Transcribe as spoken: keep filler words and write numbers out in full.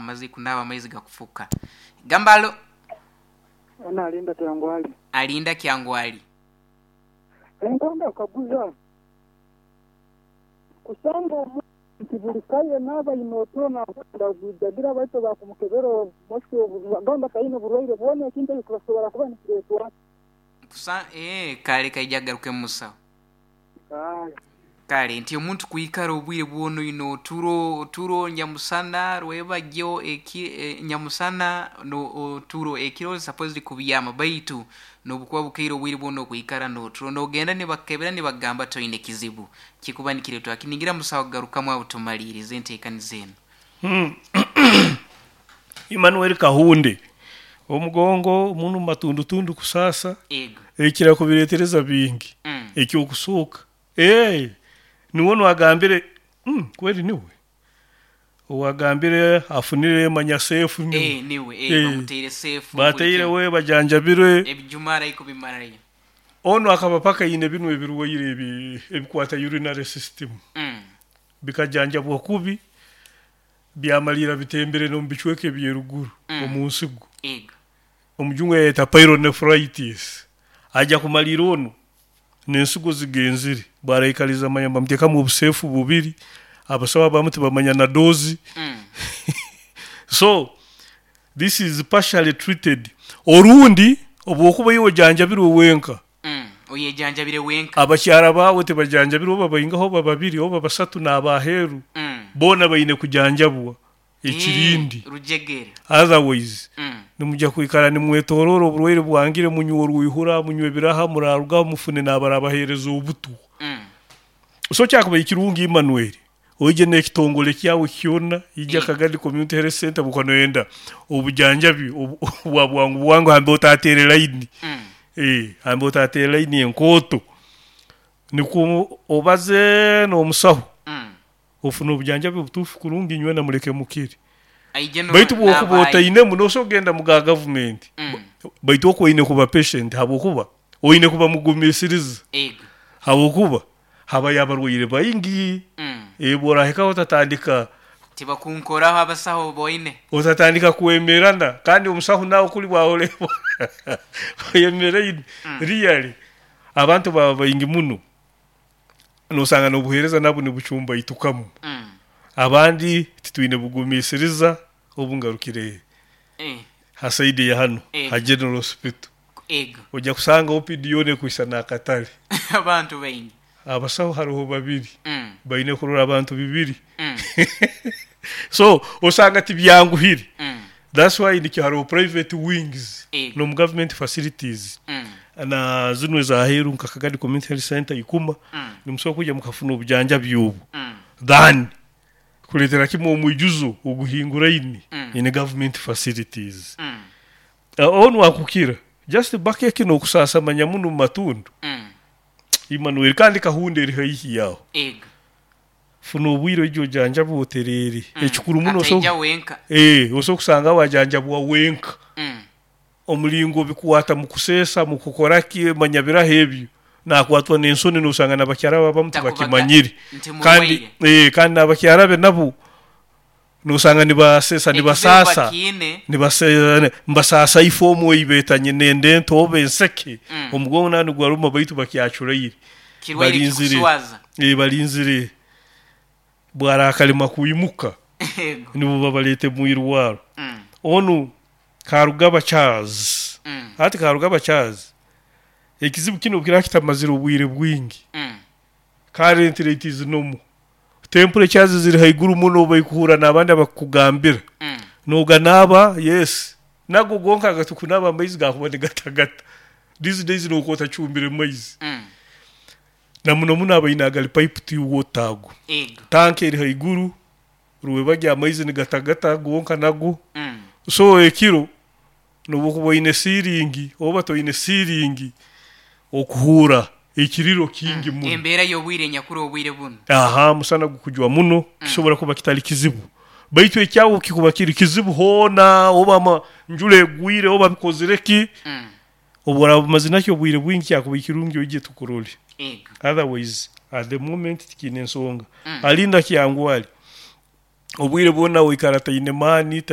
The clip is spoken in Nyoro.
Amaze kunaaba amaizi gakufuka. Gambalo. Ana Alinda Kyangwali. Alinda Kyangwali. Enkonda kaguza kusanga omuntu buli kaye naaba inootona ndagujagira baitu bakumukebera moshi bagamba taine burwaire bwona, ekintu ekyo kibasobora kuba nikireetwa? Kusa eh kale kaija garuke musawo. Kale. Kale nti omuntu kwikara obwire bwono ino oturo oturo nyamusana rwebagyo eki e, nyamusana no oturo ekiro supposed kubyama, baitu nobukuba bukeire obwire bwono kwikara noturo nogenda nibakebera nibagamba toine kizibu kikuba nikiretwa kiningira. Musawo, garukamu abo tumalirize enteekaniza eno. Hmm. Emmanuel Kahunde, omugongo munu matundutundu kusasa. Ego. Ekira kubiretereza bingi. mm. Ekyokusooka, eh niwe nwagambire mm, kweli niwe owagambire afunire manya sefu niwe. Eh, niwe eh, Eh. bamuteire sefu. Bateire we bajanjabirwe. Ebijumara ikubimarayo. Ono akaba paka yine bino ebirwaire ebi ebikwata urinary system. mm. Bikajanjabwa kubi, byamalira bitembere n'omu bicweka ebyeruguru Mm. omu nsigo. Ego. Omujungu yayeta pyelonephritis. Ajja kumalira ono n'ensigo zigenzire baraikaliza manya bamuteekamu obusefu bubiri, abasawo abamu tibamanya na dozi. mm. So this is partially treated, orundi obwokuba iwe ojanjabirwe wenka. mm. oyejanjabire wenka. Abakyara baawe tibajanjabirwe, oba baingaho oba babiri oba basatu n'abaheeru, mm. boona baine kujanjabwa ekirindi. Eh, rujegere. Otherwise mm. nimujja kwikara nimwetorora oburwaire bwangire, munywa orwihura, munywa ebiraha, murarugaho mufune n'abarabaheereza obutu. mm. So kyakuba ekirungi, Emmanuel, oije n'ekitongole kyawe kyona ija Eh. Kagadi Community Health Center bukonoyenda obujanjabi obu- bwa bwangu bwangu hambe otatere line. mm. eh hambe otatere line enkooto, nikwo obaze n'omusaho, mm. ofuna obujanjabi obutuufu kurungi nywe namuleke mukiri. Aije no. Baitu bwokuba n'abayi. otainemu nosobola kugenda mu ga gavumenti. mm. Baitu okwo oine kuba patient, habwokuba oine kuba mugumisiriza, ego habwokuba habayo abarwaire baingi. mm. eh bworahikaho otatandika Tibakunkoraho abasaho boine. Otatandika kwemerana, kandi omusaho nawe kuli bwaoleba oyemereine. Mm. Really abantu baba baingi muno, nosanga n'obuheereza nabwo nibucumbaitukamu. mm. Abandi titwine bugumisiriza. Obu ngarukire eh. ha side ya hano, Eh. ha General Hospital, ego ojja kusanga O P D yona ekwisa n'akatale. Abantu baingi. Abasaho hariho babiri, mm. baine kurora abantu bibiri. mm. So osanga tibyanguhire. mm. That's why nikyo hariho private wings Ego. n'omu government facilities mm. na zino ezaheeru nka Kagadi Community Health Center ikuma, mm. nimusobola kujja mukafuna obujanjabi obu mm. than kuleetera kimwe omwijuzo oguhinguraine Mm. in government facilities. mm. uh, onu akukira just bakeke n'okusasa manya muno mu matundu. mm. Emmanuel, kandi kahunda eri haihi yaho. Ego. Funa obwire oije ojanjabwe otereere. mm. Ekikuru muno Ataija oso wenka. eh osobola kusanga wajanjabwa wenka, mm. omulingo bikwata mu kuseesa mu kukora ki manya biraho ebyo nakwatwa n'ensoni, nosanga n'abakyara babamu Takubaga- tibakimanyire. Nti Kandi murwaire. eh kandi n'abakyara be nabo nosanga nibasesa, Ekizibu nibasasa, bakiine. nibase mbasasa ifomu eibetanye nende entobe enseke. Mm. Omugongo nani gwaruma, baitu bakyacuraire. Kirwaire Balinzire. kikuswaza. eh balinzire bwarakalima kuimuka, ego nibo babalete mu irwaro. mm. Onu Karugaba Charles. mm. Ati Karugaba Charles, ekizibu kino kira kitamazire obwire bwingi. mm. Currently it is normal, temperatures ziri haiguru muno, baikuhura n'abandi abakugambira. mm. Noganaba, yes, nago gonka gatukunaba amaizi gakuba nigatagata these days, nuko otacumbire maizi. mm. Na muno muno abaine agali pipe to water ago, ego tanka eri haiguru rwebagya amaizi nigatagata gonka nago. mm. So ekiro nobukuba oine siringi oba toine siringi, okuhura ekiriro kingi muno. Embeera y'obwire nyakuru obwire buno. Aha musana gukujwa muno, kisobora kuba kitali kizibu, baitu ekyawo kikuba kiri kizibu hoona, oba ama njura egwire oba bikozire ki, mm. obworaba bumaze nakyo obwire bwingi, kyakuba ekirungi oije tukurole. Ego. Otherwise at the moment tikiine ensonga. Mm. Alinda Kyangwali, obwire bwona oikara taine maani.